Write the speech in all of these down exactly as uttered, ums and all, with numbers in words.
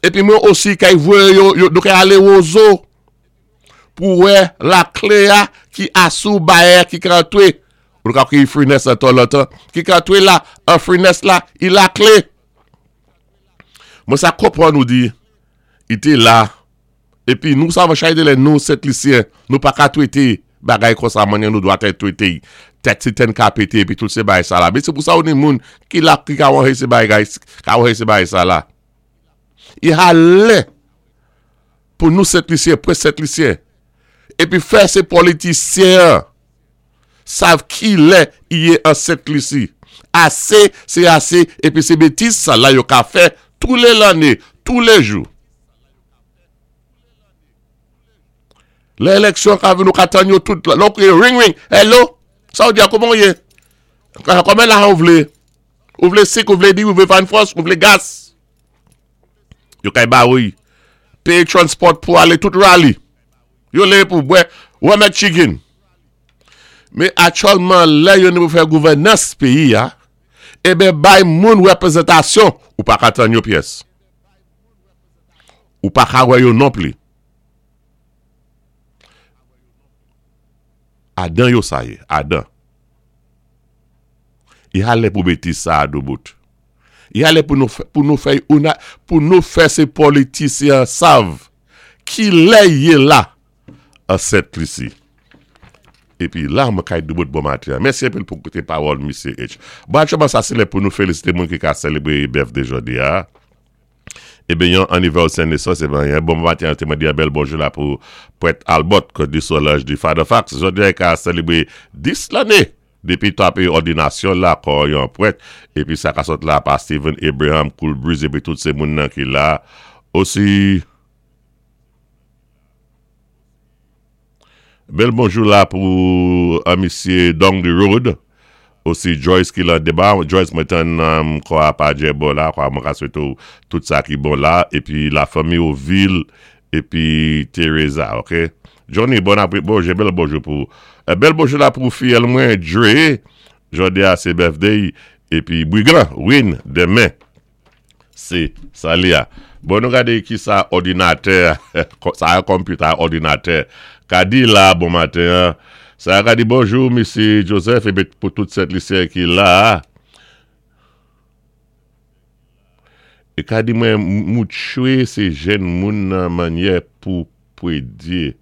Épi mwen osi kay voyé yo, yo nou kay alé Wozo pou wè laklé-a ki asou bayè ki ka antwé. Ou ka kriy Furnace an tan lontan. Ki ka antwé la, an Furnace la, i laklé. Mwen sa konpwann nou di, i té la. Épi nou sa va chay de lè nou Sent-Lisyen, nou pa ka twété bagay konsa mannyè nou dwa té twété. Tèt si ten ka pété épi tout sé bagay sa la. Mé sé pou sa ou ni moun ki la ki ka wè sé bagay, ka wè sé bagay sa la. I ha lè pou nou Sent-Lisyen, pwé Sent-Lisyen. Épi fè sé politisyen sav ki lè i yé an Sent-Lisi. Asé, sé asé, épi sé bétiz sa la yo ka fè tou lé lanné, tou lé jou. Lè éleksyon ka vini nou ka tann yo tout la. Lò kriy ring ring, hello, sa ou di a kouman ou yé? Konbyen lajan ou vlé? Ou vlé sik, ou vlé diri, ou vlé farin fwòs, ou vlé gas? Yo kay ba ou. Péyé transport pou alé tout rally. Yo lé pou bwè, wè mèt chicken. Mé aktyèlman lè yo ni pou fè gouvènans péyi-a, eben bay moun wépwézantasyon ou pa ka tann yo pyès. Ou pa ka wè yo non pli. Adan yo sa yé, adan. I ha lè pou bétiz sa a doubout. I ha lè pou nou fè, pou nou fè, pou nou fè sé politisyen sav ki lè yé la an Sent-Lisi. Épi la mwen kay doubout bon maten. Mèsi anpil pou kouté pawòl Misye H. Bon, aktyèlman sa sé lè pou nou félisité moun ki ka sélébré birthday jòdi-a. Eben yon anivèsè nésans, eben yon bon maten, té mwen di yon bèl bonjou la pou Prèt Albert, ke di Solange di Father Fox. Jòdi-a ka sélébré dis lanné dépi tapé òdinasyon la kòm yon prèt. Épi sa ka sot la pa Stephen Abraham, Cool Breeze, épi tout sé moun nan ki la. Osi, bèl bonjou la pou an misye Down the Road. Osi Joyce ki la déba. Joyce mwen tann um, kwa pa djè bon la, kwa mwen ka swété ou tout sa ki bon la. Épi la fanmi Oville, épi Teresa, ok? Johnny, bon apré, bon, j'ai bèl bonjou pou, euh, bèl bonjou la pou fiyèl mwen, Dre, jòdi-a sé birthday, épi Brigand, Win, denmen, sé Salia. Bon, nou gadé ki sa òdinatè, sa yon computer òdinatè, ka di la, bon maten, sa ka di bonjou, Misye Joseph, épi pou tout Sent-Lisyen ki la. É ka di mwen moutchwé sé jèn moun nan mannyè pou pwédyé.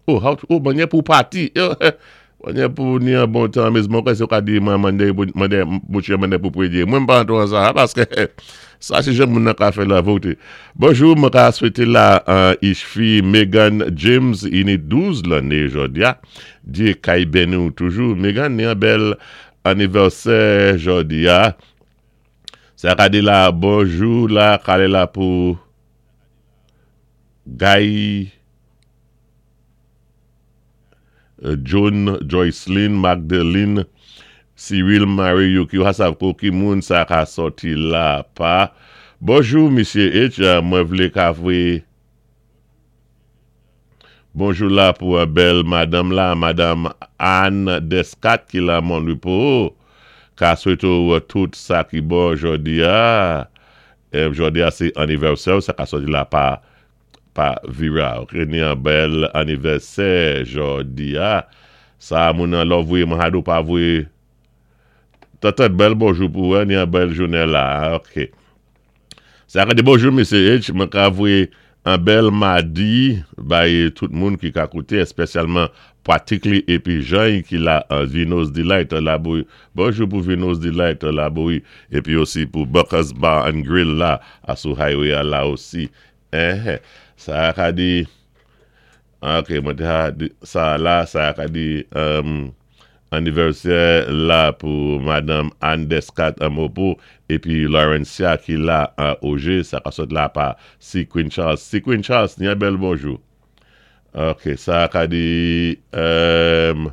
Oh, how to, oh, mannyè pou pati. Mannyè pou ni an bon tan, mé mwen kwè sé ka di mwen manyè, manyè, moutchwé mannyè pou pwédyé. Mwen pa antwan sa, paské sa sé jèn moun nan ka fè la voté. Bonjou, mwen ka swété la an ishfi Megan James, i ni douz lanné jòdi-a. Dyé kay béni ou toujou. Megan ni an bèl anivèsè jòdi-a. Sa ka di la, bonjou la, kalé la pou Guy, John, Joycelyn, Magdalene, Cyril, Marie, Yuki, hasav ko ki moun sa ka soti la pa. Bonjou, Misye H, mwen vlé ka vwé. Bonjou la pou un bèl madame la, Madame Anne Descat ki la Mon Repos. Ka swété ou tout sa ki bon jòdi-a. É, jòdi-a sé anivèsè, sa ka soti la pa, pa Vira. Ok, ni an bèl anivèsè jòdi-a. Sa moun nan lò vwé, mwen hadou pa vwé. Tata bèl bonjou pou ou, ni an bèl jounen la. Ok. Sa ka di bonjou, Misye H, mwen ka vwé an bèl madi bay tout moun ki ka kouté, espesyalman Pratikli épi Jean ki la an Vino's Delight la bouy. Bonjou pou Vino's Delight la bouy. Épi osi pou Buckers Bar and Grill la, asou highway la osi. Eh, sa ka di, ok, mwen te ha di, sa la, sa ka di, um, anivèsè la pou Madame Anne Descat an Mopo, épi Laurencia ki la an O G, sa ka sot la pa C. Queen Charles. C. Queen Charles, ni an bèl bonjou. Ok, sa ka di, um,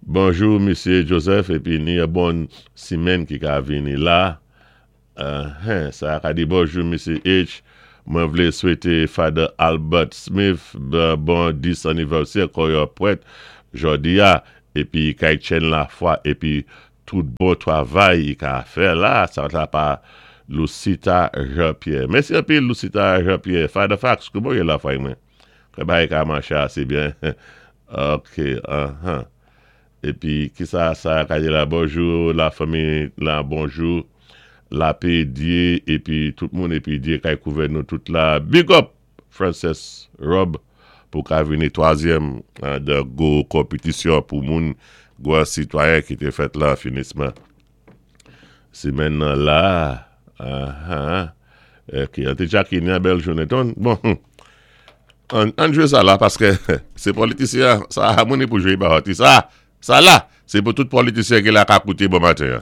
bonjou, Misye Joseph, épi ni an bon simèn ki ka vini la. Uh, hein, sa ka di bonjou, Misye H, mwen vlé swété Father Albert Smith bon dis anivèsè kòm yon prèt jòdi-a, épi kay Chen la fwa, épi Tout bon twavay i ka fè la, sa la pa Lucita Jean-Pierre. Mèsi anpil, Lucita Jean-Pierre. Father Fax, kouman ou yé la, fway mwen? Kè bagay ka maché asé byen. Ok, uh-huh. Épi, ki sa, sa, ka di la, bonjou, la fanmi, la, bonjou, lapè Dye, épi tout moun, épi Dye kay kouvè nou tout la. Big up, Frances Rob, pou ka vini twazyèm de gwo konpetisyon pou moun, gwo sitwayen ki té fèt la, finisman. Simenn nan la, uh-huh. Ok, an té Jackie, ni bèl jounen ton. Bon, an, an jwé sa la, paské sé politisyen, sa, moun pou jwé ba sa, sa la, sé pou tout politisyen ki la ka kouté bon maten.